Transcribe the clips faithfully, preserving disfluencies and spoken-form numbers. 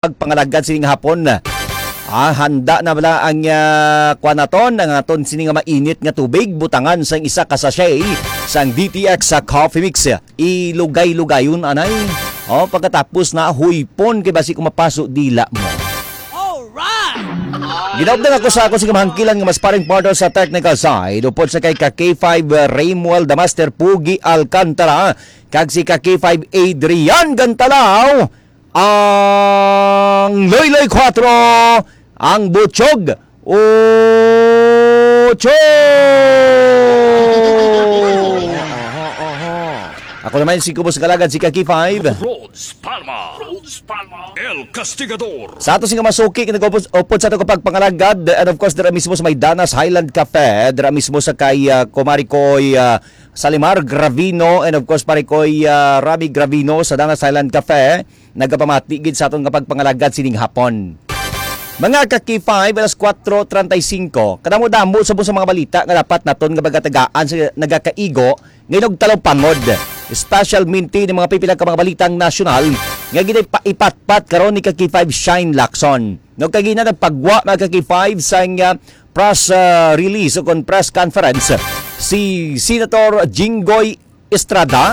pagpangalagad sining hapon. Ah, handa na bala ang, ah, kuan naton, ang aton sini nga mainit nga tubig, butangan sang isa ka sachet sang D T X sa Coffee Mix. Ilugay-lugayon, anay. Oh, pagkatapos na, huypon kay basi kung mapaso dila mo. Alright! Ginaupdan ako sa ako sa kamahangkilan nga mas paring partner sa technical side, upod sa kay ka K five, uh, Raymuel the Master Pugi Alcantara, kag si ka K five Adrian Gantalaw, ang Loyloy Quattro, ang Butchog Ocho! Ako naman si Kubos Galagad, si ka K five. Rhodes Palma. Rhodes Palma. El Castigador. Sa ato sing masuki, nag-upod sa ato kapag pangalagad, and of course, dira mismo sa may Danas Highland Cafe, dira mismo sa kay, ah, Kumari Koy, ah, Salimar Gravino, and of course, Pare Koy, ah, Rami Gravino sa Danas Highland Cafe, nagapamati gid sa aton nga pagpangalagad sining hapon. Mga ka K five, alas kuwatro treinta y cinco, kadamo-damo sa, sa mga balita nga dapat naton nga pagatagaan sa nagakaigo nga inugtalupangod. Special minti ng mga pipila ka mga balitang nasyonal nga ginapatpat karon ni ka K five Shine Lacson. No, kagina nagpagwa mga ka K five sang, ah, press, ah, release o kon press conference si Senator Jinggoy Estrada,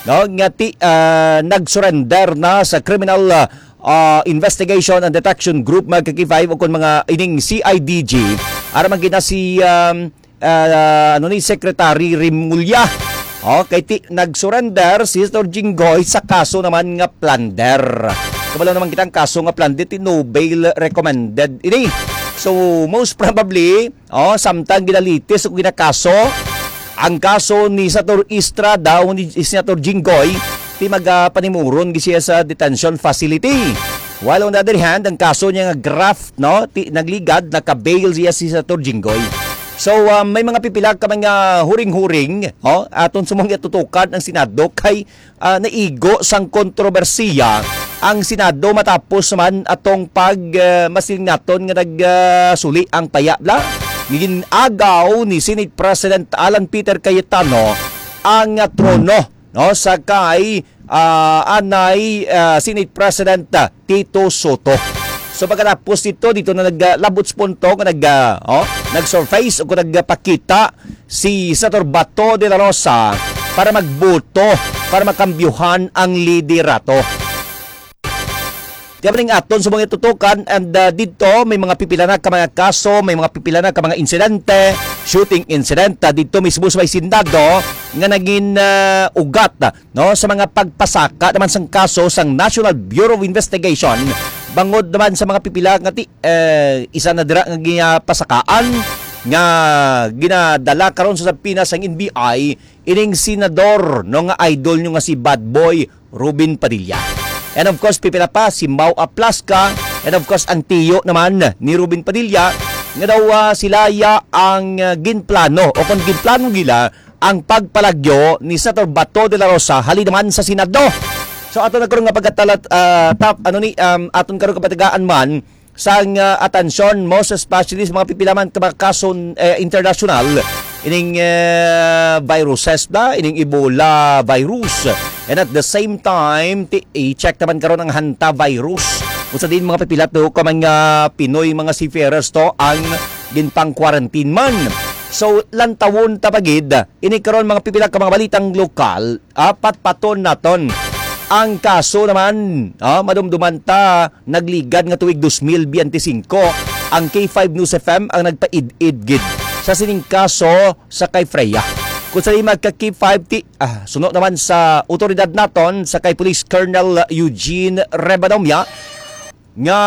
no, nga ti, ah, nag-surrender na sa Criminal, ah, ah, Investigation and Detection Group, mga ka K five, o kon mga ining C I D G, aram man gina si, um, ah, ano ni, Secretary Remulla. Okay, ti, nag-surrender si Senator Jinggoy sa kaso naman nga plunder. Kabalo naman kita ang kaso nga plunder, ti no bail recommended ini. So, most probably, oh, samtang ginalitis o ginakaso ang kaso ni Senator Estrada o ni Senator Jinggoy, ti magapanimuron gid siya sa detention facility. While on the other hand, ang kaso niya nga graft, no, ti nagligad, naka-bail siya si Senator Jinggoy. So, ah, may mga pipila ka mga huring-huring, oh, aton sa mga tutukan ang Senado kay, ah, naigo sang kontrobersiya ang Senado matapos man atong pag, ah, masiling naton nga nag, ah, suli ang paya bla. Gin-agaw ni Senate President Alan Peter Cayetano ang, ah, trono, no, sa kay, ah, anay, ah, Senate President, ah, Tito Soto. So pagkatapos dito, dito na nag, ah, labot sa punto nga nag, ah, oh, nag-surface o nagpakita si Senator Bato de la Rosa para magboto para makambyuhan ang liderato. Di ba ning aton sa mga tutukan, and, uh, dito may mga pipila na ka mga kaso, may mga pipila na ka mga insidente, shooting incident, uh, dito mismo sa may Senado nga naging, uh, ugat, uh, no, sa mga pagpasaka naman sang kaso sang National Bureau of Investigation bangod naman sa mga pipila nga ti, eh, isa na dira nga ginapasakaan nga ginadala karon sa subpoena sang N B I ining senador, no, nga idol nyo nga si Bad Boy Robin Padilla. And of course, pipila pa si Mau Aplasca, and of course, ang tiyo naman ni Robin Padilla, nga daw, ah, sila ya ang, ah, ginplano o kung ginplano nila ang pagpalagyo ni Senator Bato de la Rosa halin naman sa Senado. So ato na karon nga pagkatalat, ah, tap, ano ni, um, aton karon kapatagaan man sang, ah, atensyon, most especially sa mga pipila man ka mga kaso, eh, international, ining, eh, viruses na, ining Ebola virus. And at the same time, ti-, i-check naman karon ang hantavirus. Kung sa din mga pipila to ka mga Pinoy, mga seafarers to ang ginpang-quarantine man. So, lantawon ta pa gid, ini karon mga pipila ka mga balitang lokal, ah, patpaton naton. Ang kaso naman, ah, madumduman ta, nagligad nga tuig dos mil biyente singko, ang K five News F M ang nagpaid-id gid sa sining kaso sa kay Freya. Kung sa lima ka K five ti, ah, suno naman sa otoridad naton sa kay Police Colonel Eugene Rebadomia nga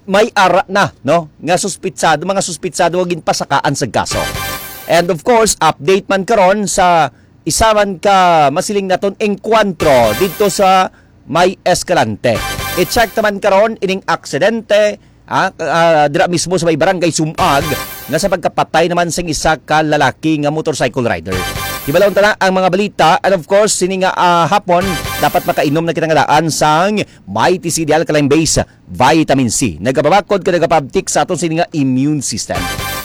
may ara na, no, nga suspitsado, mga suspitsado nga ginpasakaan sa kaso. And of course, update man karon sa isa man ka masiling naton engkwentro dito sa may Escalante. I-check naman karon ining aksidente, ah, ah, dira mismo sa may barangay Sumag nga sa pagkapatay naman sang isa ka lalaki nga motorcycle rider. Hibalon ta na ang mga balita, and of course, sini nga, ah, hapon, dapat makainom na kita nga daan sang Mighty C D Alkaline Base Vitamin C. Nagapabakod ka nagapabtik sa aton sini nga immune system.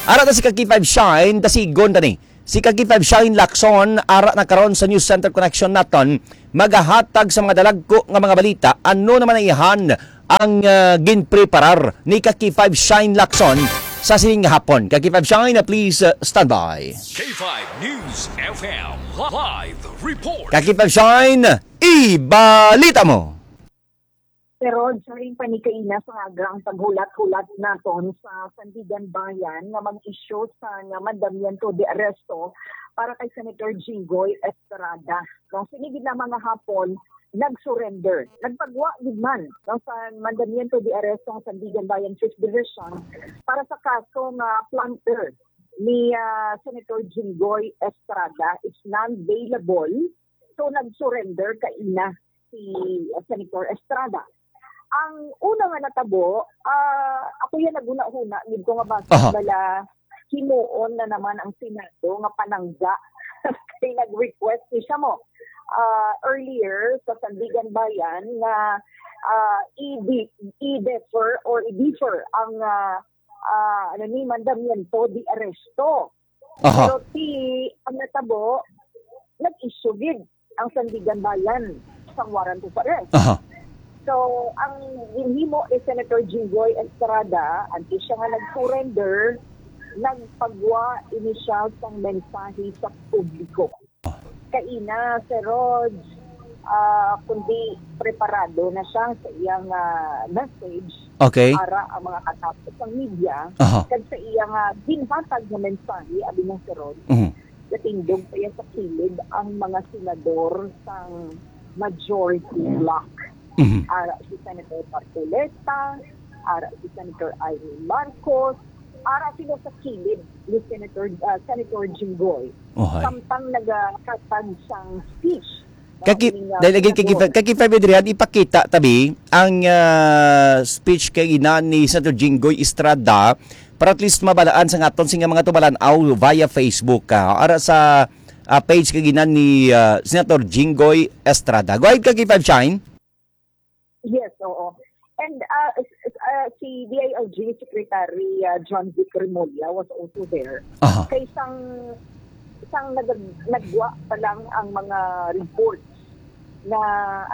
Ara na si Kaki five Shine, dasigon ta ni. Si Kaki five Shine Lacson, ara na karon sa News Center Connection naton, magahatag sa mga dalagko nga mga balita, ano naman ang ihan ang, ah, ginpreparar ni ka K five Shine Lacson sa sining nga hapon. Ka K five Shine, ah, please, ah, stand by. K five News F M live report. Ka K five Shine, ibalita mo. Pero during pa ni kaina sa aga ang paghulat-hulat naton sa Sandiganbayan nga mag-issue sa nga mandamiento de arresto para kay Senator Jinggoy Estrada. No, sini gid na mga hapon, nag-surrender. Nagpagwa gid man, no, sa mandamiento de arresto ang Sandiganbayan Fifth Division para sa kaso nga plunder ni, ah, Senator Jinggoy Estrada. It's non-bailable. So, nag-surrender kaina si, uh, Senator Estrada. Ang una nga natabo, ah, ako yan naghuna-huna gid ko nga basi Aha. bala himuon na naman ang Senado nga panangga. Kay nag-request ni siya mo, ah, earlier sa Sandiganbayan nga, ah, i-de-, i-defer or i-defer ang, ah, ah, ano ni, mandamiento de arresto. Aha. Pero ti, ang natabo, nag-issue gid ang Sandiganbayan sang warrant of arrest. Aha. So, ang ginhimo ni Senator Jinggoy Estrada, antes siya nga nag-surrender, nagpagwa ini siya sang mensahe sa publiko. Kaina, Sir Rog, ah, kundi preparado na siya sa iyang, ah, message Okay. para ang mga katapos sang media Aha. kag sa iyang, ah, ginhatag nga mensahe, abi nga, Sir Rog, Mhm. natindog pa iya sa kilid ang mga senador sang majority bloc. Mhm. Ara si Senator Marcoleta, ara si Senator Imee Marcos, ara sila sa kilid ni Senator, ah, Senator Jinggoy. Ohay. Samtang nagahatag sang speech. Kaki-, Ang ining, ah, dahil lagi kaki-, senador. Kaki Febedrian, ipakita tabi ang, ah, speech kay ina ni Senator Jinggoy Estrada para at least mabalaan sa aton sing mga tumalan-aw via Facebook, ah, ara sa, ah, page kay ina ni, ah, Senator Jinggoy Estrada. Go ahead, Kaki Five Shine. Yes, oo. And, uh, s-, s-, uh, si D I L G Secretary, uh, John Vic Remulla was also there. Aha. Kay sang, sang nag-, nagwa pa lang ang mga reports na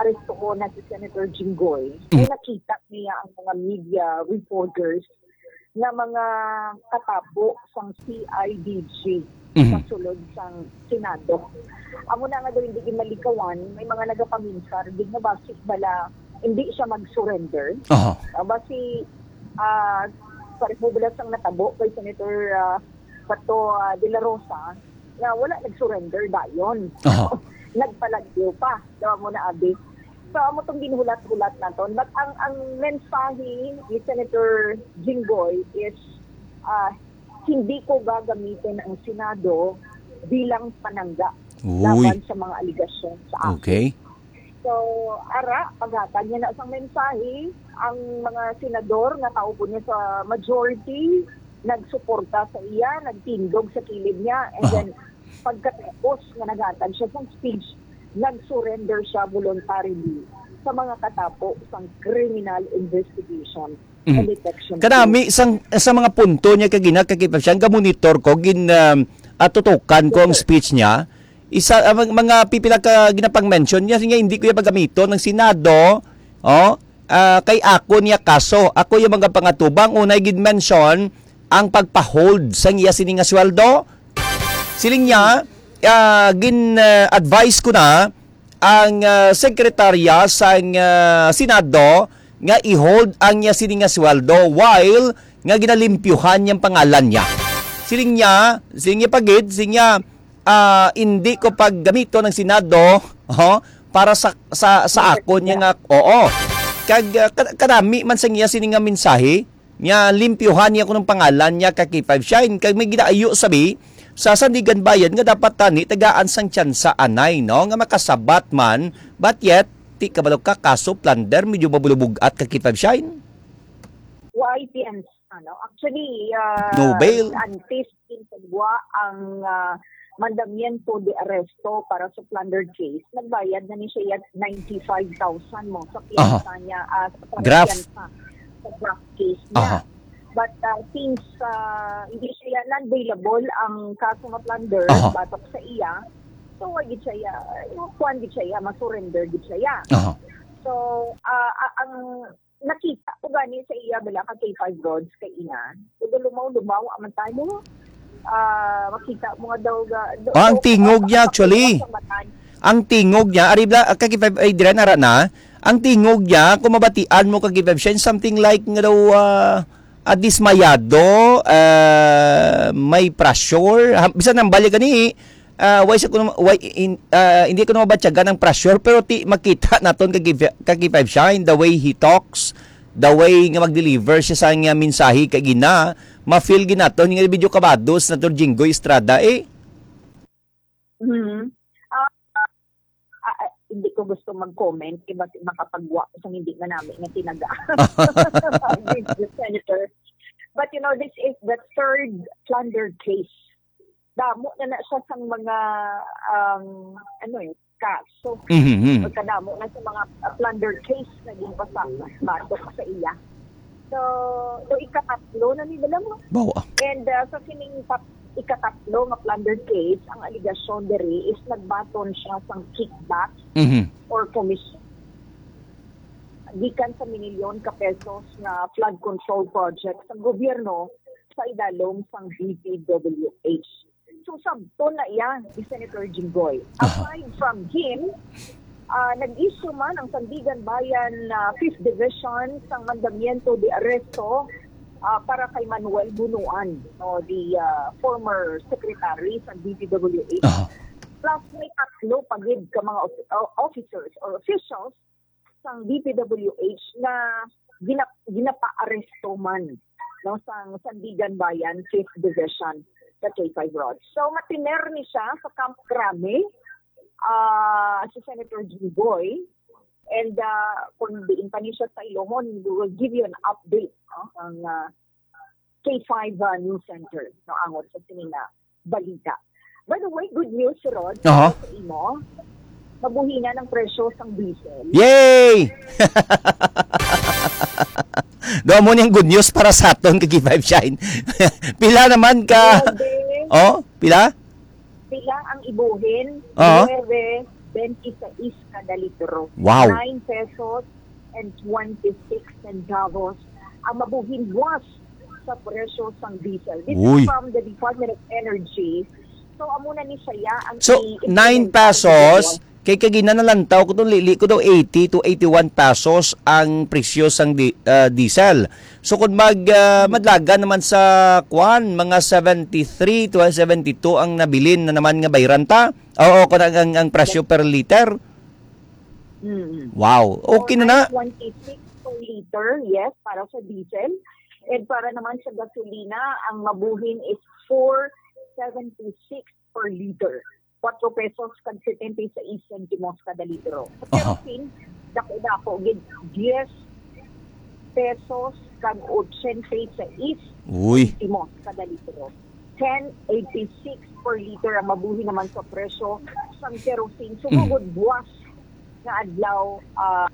arestuhon na si Senator Jinggoy, Mhm. ay nakita niya ang mga media reporters nga mga katapo sang C I D G Mhm. sa sulod sang Senado. Amo na nga daw hindi gid malikawan, may mga nagapaminsar gid nga basi bala hindi siya mag-surrender. Aha. Ah, basi, ah, pareho bala sang natabo kay Senator, ah, Bato, ah, de la Rosa, nga wala nag-surrender dayon. Aha. Nagpalagyo pa, daw mo na abi. So, amo tong ginhulat-hulat naton. But ang, ang mensahe ni Senator Jinggoy is, ah, "Hindi ko gagamitin ang Senado bilang panangga Uy. laban sa mga aligasyon sa akin." Okay. So, ara, paghatag niya na sang mensahe, ang mga senador nga kaupo niya sa majority, nagsuporta sa iya, nagtindog sa kilid niya, and Aha. then, pagkatapos nga naghatag siya sang speech, nag-surrender siya voluntarily sa mga katapo sang criminal investigation Mhm. and detection Kanami team. sang, sa mga punto niya kagina, kakita siya, ga-monitor ko, gin, um, atutukan ko ang Yes, sir. speech niya. Isa, ah, mag-, mga pipila ka ginapang-mention niya, siya nga, "Hindi ko iya pagamiton ang Senado, oh, ah, kay ako niya kaso. Ako iya mga pangatubang." Unay gid mention ang pagpa-hold sang iya sini nga sweldo. Siling niya, ah, gin, ah, advise ko na ang, ah, sekretarya sang, ah, Senado nga i-hold ang iya sini nga sweldo while nga ginalimpyuhan niyang pangalan niya. Siling niya, siling niya pa gid, siling niya, ah, "Hindi ko paggamiton ang Senado, ho, para sa, sa, sa akon niya nga," oo. Kag, ah, ka-, kanami man sa iya sini nga mensahe, nga limpyuhan niya kuno ang pangalan niya, ka K five Shine. Kag may ginaayo sabi sa Sandiganbayan nga dapat tani tagaan sang tsansa anay, no, nga makasabat man, but yet, ti kabalo ka, kaso plunder, medyo mabulubog-at, ka K five Shine. Why tsansa, no? Actually, ah, No bail. antes din pagwa ang, ah, mandamiento de arresto para sa plunder case, nagbayad na ni siya ninety-five thousand mo sa Aha. piyansa niya, ah, sa Graft. piyansa sa graft case niya. Aha. But, ah, since, ah, hindi siya non-bailable ang kaso nga plunder Aha. batok sa iya, so, wa gid siya, yung kuwan gid siya, ma-surrender gid siya. Aha. So, ah, a-, ang Nakita ko gani sa iya bala ka K five Rods kay ina. Pero lumaw-lumaw man tayo. Ah, makita mo nga daw ga, do, Ah, ang do, tingog niya, ah, actually. sa mata niya. Ang tingog niya, ari bala, ah, ka K five, ay, dira, nara na. Ang tingog niya, kung mabatian mo ka K five Shine, something like nga daw, ah, ah, dismayado, ah, may pressure. Ha, bisan ang balik gani, ah, why sa kuno, why in, ah, hindi ko na mabatyagan ang pressure, pero ti makita naton ka K five, ka K five Shine, the way he talks, the way nga mag-deliver siya sa nga mensahe kay gina, ma-feel ginaton nga video kabados na to Jinggoy Estrada eh. Mhm. Ah, ah, ah, hindi ko gusto mag-comment kay basi makapagwa ko sa hindi manami nga tinaga. With the senator. But you know, this is the third plunder case. Damo na na siya sang mga, um, ano eh, kaso. Mhm. Pagkadamo na sa mga, uh, plunder case na ginpasa batok sa iya. So, so ikatatlo na ni, alam mo. Bawa. And uh, sa sining tat- ikatatlo nga plunder case, ang alegasyon diri is nagbaton siya sang kickback Mhm. or commission gikan sa minilyon ka pesos nga flood control project sa gobyerno sa idalom sang D P W H. So, sabton na iya ni Senator Jinggoy. Aha. Aside from him, ah, nag-issue man ang Sandigan Bayan, ah, Fifth Division sang mandamiento de arresto, ah, para kay Manuel Bunuan, no, the, ah, former secretary sa D P W H. Aha. Plus, may tatlo pa gid ka mga of- o- officers or officials sang D P W H na gina- ginapaaresto man, no, sang Sandigan Bayan Fifth Division sa K five Rods. So, matiner ni siya sa Camp Crame, ah, si Senator Jinggoy. And ah, kung diin pa ni siya sa Ilogon, we will give you an update, no, ang ah, K five ah, News Center, no, angot sa sini nga balita. By the way, good news, Rod, Aha. sa imo, mabuhinan ang presyo sang diesel. Yay! Do mo niyang good news para sa aton ka K five Shine. Pila naman ka? Nuebe, Oh, pila? Pila ang ibuhin? Oo. Nuebe veintiséis kada litro. Wow. Nine pesos and twenty-six centavos ang mabuhin buwas sa presyo sang diesel. This Uy. Is from the Department of Energy. So, amo na ni siya ang So, i- nine implementa pesos, sa kay kagina nalantaw ko tong lili ko daw eighty to eighty-one pesos ang presyo sang di, ah, diesel. So kung mag ah, madlagan naman sa kwan, mga seventy-three to seventy-two ang nabilin na naman nga bayran ta. Oo, kung ang, ang, ang presyo per liter. Mm-mm. Wow. Okay na na. Twenty-six per liter, yes, para sa diesel. And para naman sa gasolina, ang mabuhin is four seventy-six per liter. Kwatro pesos kag setenta y seis sentimos kada litro. Sa Aha. Kerosene, dako-dako gid, diyes pesos kag ochenta y seis Uy. sentimos kada litro. Ten eighty-six per liter ang mabuhi naman sa presyo sang kerosene. Sumugod buwas nga adlaw, ah,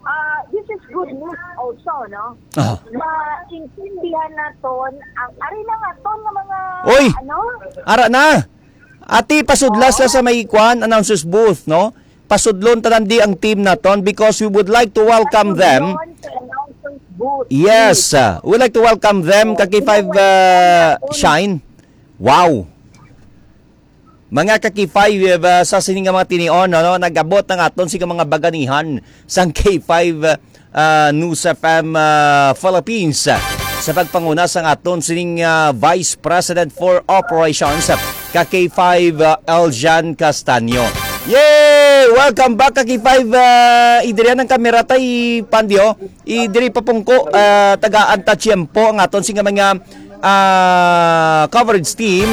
ah, this is good news also, no? Ah. Maintindihan naton ang, ari na nga ton nga mga, Oy! Ano? Ara na. Ati, pasudla sila sa may kwan, announcer's booth, no? Pasudlon tanan di ang team naton because we would like to welcome them. Sa announcer's booth. Yes, uh, we would like to welcome them, ka K five uh, Shine. Wow. Mga ka K five, uh, sa sini nga mga tinion, ano, nag-abot ang aton sa mga baganihan sang K five uh, News F M uh, Philippines, uh, sa pagpanguna sang aton sining uh, Vice President for Operations, uh, ka K five uh, Eljan Castaño. Yay! Welcome back, ka K five. Uh, idirian ang kamera tay Pandio. Idiri pa pungko, uh, tagaan ta tiyempo ang aton sing mga uh, coverage team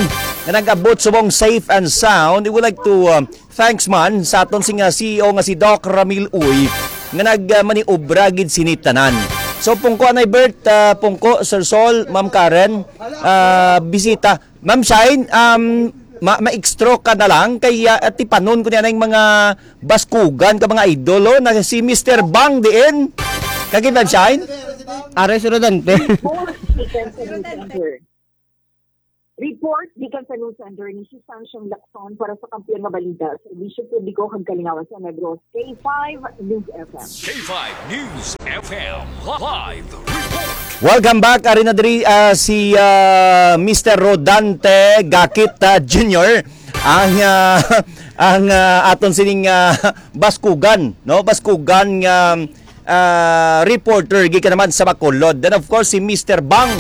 nga nag-abot subong safe and sound. We would like to uh, thanks man sa aton sing uh, C E O nga si Doc Ramil Uy nga nag uh, maniobra gid sini tanan. So pungko anay Bert, uh, pungko Sir Sol, Ma'am Karen, uh, bisita. Ma'am Shine, um, ma- ma-extra ka na lang kay uh, atipanon ko niya na yung mga baskugan ka mga idol, oh, na si Mister Bang diin. Kagi Ma'am Shine? Ares Rodante. Both speakers in the center. Report gikan sa news center ni si Sanchong Lacson para sa Kampiyon nga Balita, Serbisyo Publiko kag Kalingawan sa Negros, K five News F M. K five News F M live report. Welcome back. Ari na diri, ah, si, ah, Mister Rodante Gakit, ah, Junior, ang, ah, ang, ah, aton sining, ah, baskugan, no? Baskugan nga, ah, reporter gikan naman sa Bacolod. Then of course si Mister Bang.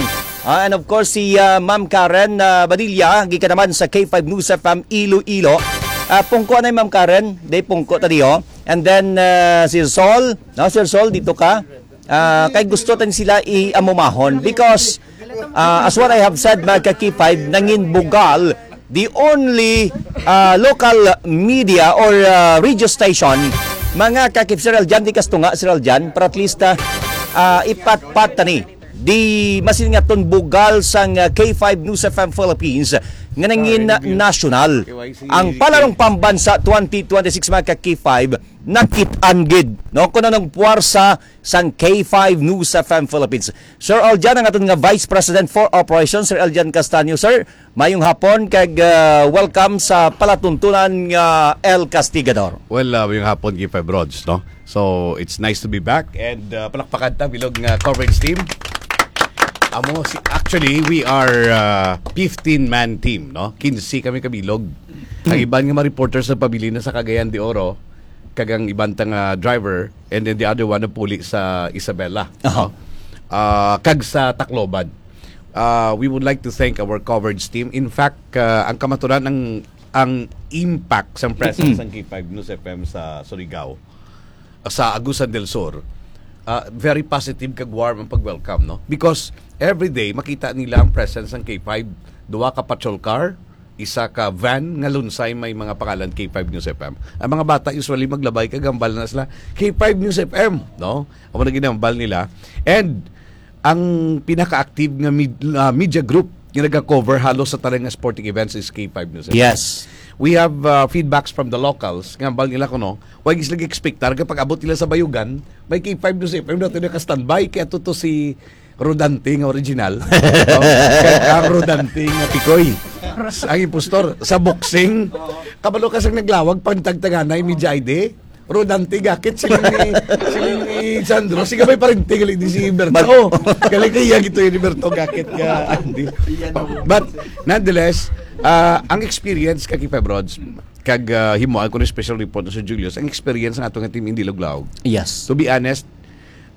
Ah, and of course si, ah, Ma'am Karen, ah, Badilla gikan naman sa K five News F M Iloilo. Ah, pungko anay, Ma'am Karen, day pungko ta diho. And then, ah, Sir Sol, no, Sir Sol, dito ka. Ah, kay gusto tan sila i-amumahon because, ah, as what I have said, mga ka-K five, nangin bugal the only, ah, local media or, ah, radio station, mga ka-K five, Sir Aljan, di kastunga, Sir Aljan, para at least, ah, ah, ipatpat tani di masin nga ton bugal sang, ah, K five News F M Philippines nga nangin national. Ang Palarong Pambansa twenty twenty-six, mga ka-K five, nakit-an gid, no? Kung anong puwersa sang K five News F M Philippines. Sir Aljan, ang aton nga Vice President for Operations, Sir Aljan Castaño. Sir, mayong hapon kag, ah, welcome sa palatuntunan nga El Castigador. Well, ah, mayong hapon, K five Rods, no? So, it's nice to be back and, ah, palakpakan ta, bilog nga coverage team. Amo si, actually, we are, ah, fifteen-man team, no? Quince kami kabilog. Ang iban nga mga reporters nagpabilin na sa Cagayan de Oro, kag ang iban ta nga driver, and then the other one napuli sa Isabela, Aha. no? Ah, kag sa Tacloban. Ah, we would like to thank our coverage team. In fact, ah, ang kamaturan, ang, ang impact sang presence Mm. sang K five News F M sa Surigao, sa Agusan del Sur, ah, very positive kag warm ang pag-welcome, no? Because every day makita nila ang presence sang K five, duha ka patrol car, isa ka van nga lunsay may mga pangalan K five News F M. Ang mga bata usually maglabay kag hambal na sila, "K five News F M," no? Amo na ginambal nila. And ang pinaka-active nga med-, ah, media group nga nagakover halos sa tanan nga sporting events is K five News F M. Yes. We have, ah, feedbacks from the locals nga hambal nila kuno, wa gid sila gi-expectar kapag abot nila sa Bayugan, may K five News F M na to naka-standby. Kaya to, to si Rodante nga original. No? Kag ang Rodante nga Pikoy. Ang impostor, sa boxing, kabalo ka sang naglawag, pantagtaganay, media I D. Rodante Gakit, siling ni, siling ni Sandro. Sige, may parente, gali di si Berto. Mag- Oh, gali kay iya gito yung Berto Gakit ka, Andy. But, nonetheless, ah, ang experience ka, K five Rods, kag, ah, himuan ko ng special report na si Julius, ang experience ng ato nga team hindi luglaw. Yes. To be honest,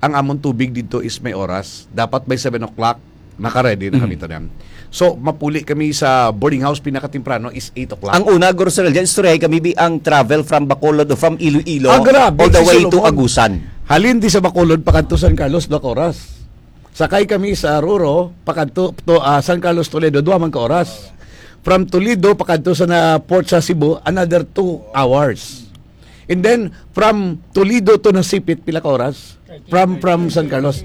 ang amon tubig dito is may oras. Dapat by seven o'clock, naka-ready na kami Mm. tanan. So, mapuli kami sa boarding house pinakatemprano is eight o'clock. Ang una, Guru Sir Aljan, istoryahay kami bi ang travel from Bacolod o from Iloilo Ah, grabe, all the si way to Solomon. Agusan. Halin di sa Bacolod, pakadto San Carlos, duha ka oras. Sakay kami sa Ruro, pakadto to, ah, San Carlos, Toledo, duha man ka oras. From Toledo, pakadto sa na port sa Cebu, another two hours. And then, from Toledo to Nasipit, pila ka oras? From, from San Carlos,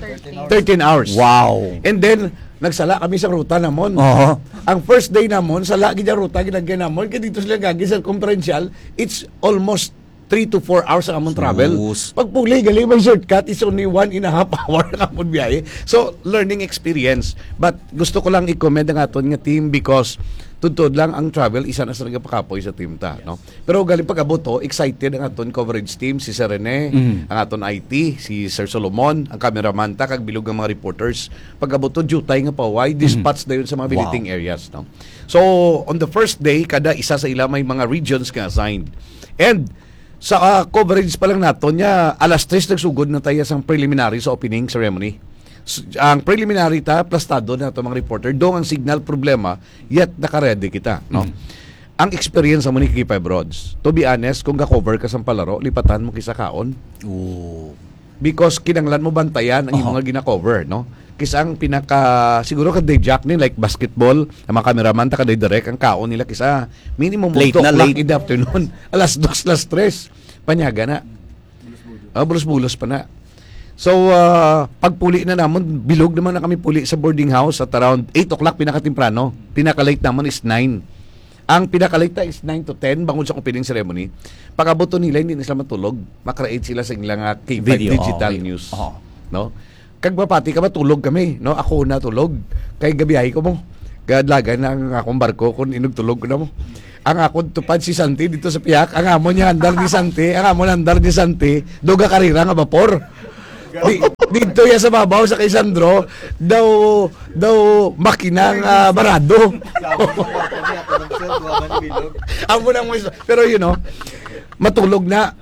thirteen hours. Wow. And then, nagsala kami sa ruta namon. Oho. Ang first day namon, sala gid ang ruta, ginagay namon, kay dito sila gagi sa Circumferential, it's almost three to four hours ang among travel. Sus. Pagpuli, gali, may shortcut, it's only one and a half hour ang among biyahe. So, learning experience. But gusto ko lang i-commend ang aton nga team because tuod-tuod lang ang travel, isa na sa nagapakapoy sa team ta, no? Pero galing pag-abot, oh, excited ang aton coverage team, si Sir Rene, Mm. ang aton I T, si Sir Solomon, ang cameraman ta, kag bilog nga mga reporters. Pag-abot to, jutay nga paway, Mm. dispatch dayon sa mga Wow. billeting areas, no? So, on the first day, kada isa sa ila may mga regions nga assigned. And sa, ah, coverage pa lang naton niya, alas tres nagsugod na tayo sa preliminary sa opening ceremony. S-, ang preliminary ta, plastado na ito mga reporter. Dong ang signal problema, yet naka-ready kita, no? Mm. Ang experience mo ni K five Rods, to be honest, kung ga-cover ka sa palaro, lipatan mo kisa kaon. Oo. Because kinanglan mo bantayan ang Aha. imong nga gina-cover, no? Kisa ang pinaka, siguro ka day Jack ni, like basketball, ang mga cameraman, ta ka day direct, ang kaon nila kisa minimum Late two na, o'clock late. in the afternoon. Alas dos, alas tres. Panyaga na. Ah, bulos-bulos pa na. So, ah, pagpuli na namon, bilog naman na kami puli sa boarding house at around eight o'clock pinakatemprano. Pinaka-late namon is nine. Ang pinaka-late na is nine to ten, bangod sa opening ceremony. Pag-abot to nila, hindi na sila matulog. Makreate sila sa ilang, ah, K five Video, digital okay. news. Oo. No? Kag mapati ka, matulog kami, no? Ako na tulog. Kay gabiyahe ko mo. Kadlagan na ang akong barko kung inugtulog ko na mo. Ang akong tupad si Santi dito sa pihak, ang amo niya andar ni Santi, ang amo andar ni Santi, duga karira nga bapor. Di, dito ya sa babaw sa kay Sandro, daw, daw makinang ah, barado. Amo nang mo. Pero you know, matulog na.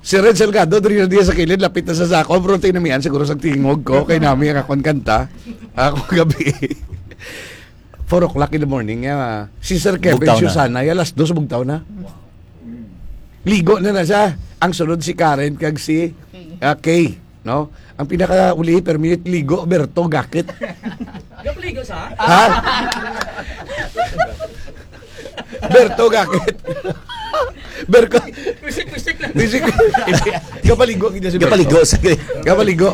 Si Red Salgado, diri na diya sa kilid, lapit na sa sako. Pero tinamian siguro sa tingog ko, kay nami ang akong kanta. Ako gabi. Four o'clock in the morning, ah, si Sir Kevin Bugtaw na. Susana, ya alas dos, bugtaw na. Ligo na na siya. Ang sunod si Karen kag si ah, Kay, no? Ang pinakauli, per minute, ligo, Berto, gakit. Gapaligo sa? Ha? Berto, gakit. Berko. Wisik-wisik lang. Wisik. Kapaligo kita si Berto. Kapaligo sa Kapaligo.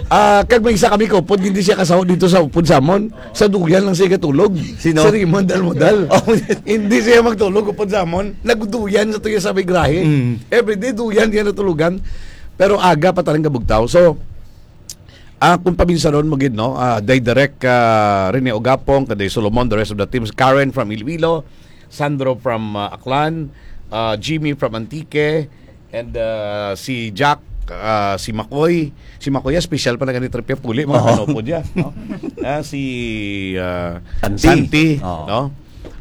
Ah, kag may isa kami kaupod, hindi siya kasaw dito sa upod sa amon. Sa duyan lang siya katulog. Sino? Si Raymond Almodal. Oh. Hindi siya magtulog upod sa amon. Nagduyan sa tuya sa may grahe. Mm. Everyday duyan diya natulugan. Pero aga pa talang kabugtaw. So, ah, kung paminsanon mo gid, no? Ah, Day Direk, ah, Rene Ogapong, Kaday Solomon, the rest of the teams. Karen from Iloilo, Sandro from ah, Aklan, ah, Jimmy from Antique, and ah, si Jack, ah, si Makoy. Si Makoy, ah, special pa na ganit trip puli, mga Oo. Kanopod yan, no? Ah, si ah, Santi. Santi, Oo. no?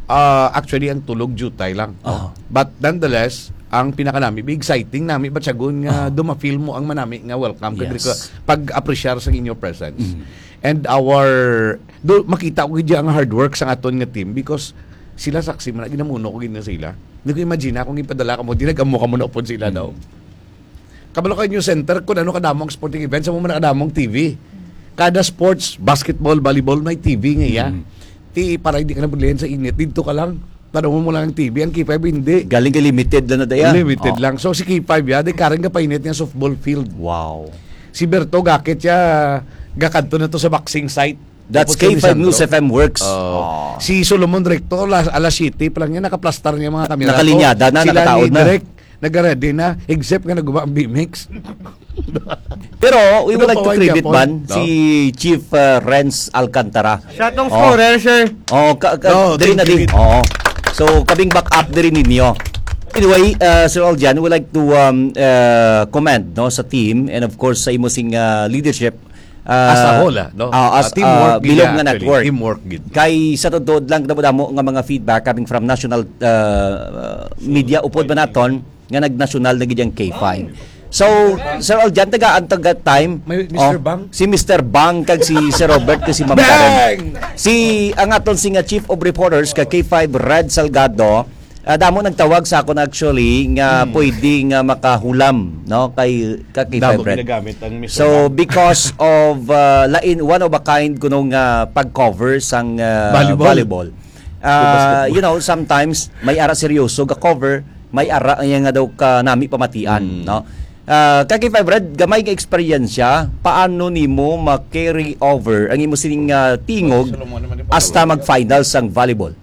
Ah, actually, ang tulog jutay lang. Oo. But nonetheless, ang pinakanami, exciting nami, batyagon nga Oo. dumafil mo ang manami nga welcome. Kag Yes. diri ko pag-appreciate sa inyo presence. Mm. And our, do, makita ko gid ang hard work sa aton nga team because sila saksi man, ginamuno ko gid na sila. Hindi ko imagine akong ipadala ka mo, di nag-amo ka mo na upod sila daw. Mm. Kabalo kayo News Center, kung ano kadamo ang sporting events, amo man kadamo ang T V. Kada sports, basketball, volleyball, may T V nga iya. Mm. Ti, para hindi ka na bulihan sa init, dito ka lang. Tanong mo lang ang T V, ang K five hindi. Galing kay limited lang na daya. Limited Oh. lang. So si K five ya, di karang ka painit nga softball field. Wow. Si Berto Gakit ya, gakadto na to sa boxing site. That's Tapos si K five Lisandro. News F M Works. Oh. Oh. Si Solomon Recto, alas, alas siyete pa lang yan, nakaplastar niya mga kamera. Nakalinyada na, Sila nakataod ni na. Direk, nag-ready na, except nga naguba ang B M X. Pero we would Ano like pa to man credit gyapon? man No? si Chief uh, Renz Alcantara. Siya tong Oh. scorer, sir. Oh, ka, ka, No, diri thank na you, din. Gid. Oo. So, kabing back up diri ninyo. Anyway, uh, Sir Aljan, we would like to um, uh, commend no sa team and of course sa imo sing uh, leadership. Uh, As a whole, ah, no? uh, as Uh, teamwork uh, gid bilog yan, nga actually. network. Teamwork gid. Kay sa totoo lang damo-damo nga mga feedback coming from national uh, uh, media upod ba naton nga nagnasyonal na gid ang K five. So, Sir Aljan, tagaan taga time. May Mister Oh, Bang? Si Mister Bang kag si Sir Robert kag si Ma'am Karen. Bang! Si ang aton si nga Chief of Reporters ka K five Red Salgado, ah, damo nagtawag sa akon actually nga Hmm. pwede nga makahulam no kay ka K five Damo Red. ginagamit ang Mister So Bang. because of uh, lain one of a kind kuno nga pag-cover sang uh, Volleyball. volleyball. Uh, Basketball. you know, sometimes may ara seryoso ga cover, may ara nga daw ka nami pamatian, Mm. no? Ah, kag if I've read, gamay nga eksperyensya, paano nimo ma-carry over ang imo sining ah, tingog Solomon naman yung hasta pangalawa. Mag-finals ang volleyball?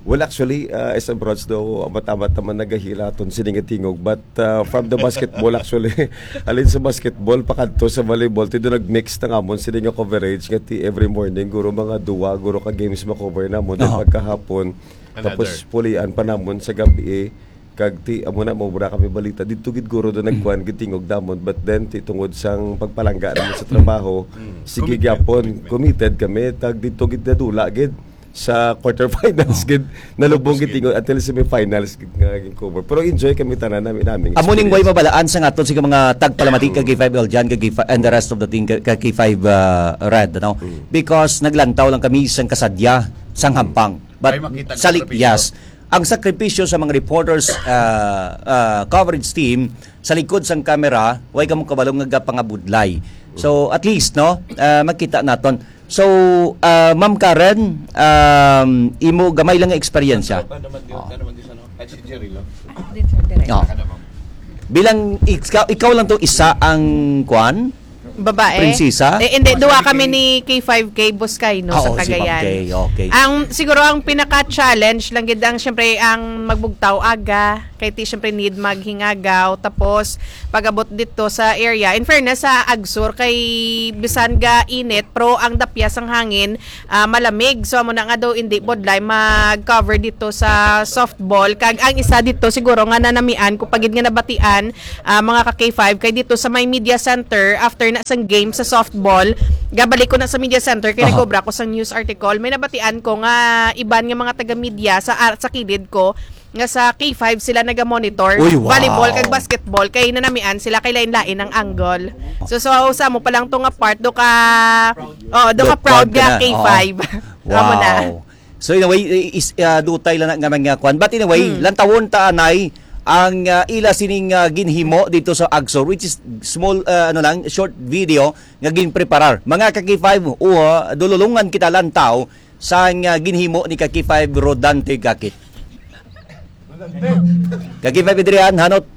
Well, actually, uh, as a broads daw, amat-amat naman nagahila aton sini nga tingog. But uh, from the basketball, actually, alin sa basketball, pakadto sa volleyball, tido nag-mix na ngamon sini nga coverage nga ti every morning, guro mga duwa, guro ka games ma-cover namon. Then Oo. pagkahapon, Another. tapos pulian pa namon sa gabi, kag ti amo na mo wala kami balita didto gid guro do nagkuan gid tingog damon, but then ti tungod sang pagpalangga namo sa trabaho, Mm. sige Commitment, gyapon, commitment. committed kami, tag didto gid nadula gid sa quarterfinals Oh. gid, nalubong Tapos gid gid. tingog until semifinals gid nga naging cover. Pero enjoy kami tanan nami, nami Amo ning way experience. mabalaan sa aton sa mga tagpalamati kag K five L Jan, kag K five, and the rest of the team, kag K five uh, Red, no? Mm. Because naglantaw lang kami sang kasadya, sang hampang. But Ay, makita ang sali-, sakripisyo. yes. Ang sakripisyo sa mga reporters, ah, ah, coverage team, sa likod sang camera, way kamo kabalo nga gapangabudlay. So, at least, no, ah, makita naton. So, ah, Ma'am Karen, um, imo gamay lang nga eksperyensya. Ano naman yun? Oh. Ano naman yun? Ano? Ay, si Jerry lang. Din, sir, direct. Oh. Bilang ikaw, ikaw lang to isa ang kwan? Babae. Prinsesa? Eh, hindi, duwa kami ni K five K Buscay, no, Ah, sa oo, si Ma'am Cagayan. Kay, okay. Ang, siguro ang pinaka-challenge lang gid ang, syempre, ang magbugtaw aga, kay ti, syempre, need maghingagaw, tapos pag-abot dito sa area. In fairness, sa Agsur, kay bisan ga init, pero ang dapya sang hangin, ah, malamig. So, amo na nga daw, hindi bodlay mag-cover dito sa softball. Kag ang isa dito, siguro nga nanamian ko pagid nga nabatian, ah, mga ka K five, kay dito sa may media center, after na sang game sa softball, gabalik ko na sa media center, kay Aha. nagkubra ko sa news article. May nabatian ko nga iban nga mga taga-media sa, ar- sa kilid ko, nga sa K five sila naga-monitor Uy, wow. volleyball kag basketball, kay nanamian sila, kay lain-lain ang angle. So, so sa mo pa lang to nga part, do ka, oh, do ka Do proud proud ka nga na, K five. Amo na. Wow. So, in a way, is, uh, dutay lang na nga mga kwan. But in a way, Hmm. lantawon ta anay ang, uh, ila sining, uh, ginhimo dito sa Agsur, which is small, uh, ano lang, short video nga ginpreparar. Mga ka K five, uh, dululungan kita lantaw sa, uh, ginhimo ni ka K five Rodante Gakit. Ka K five Adrian, hanot.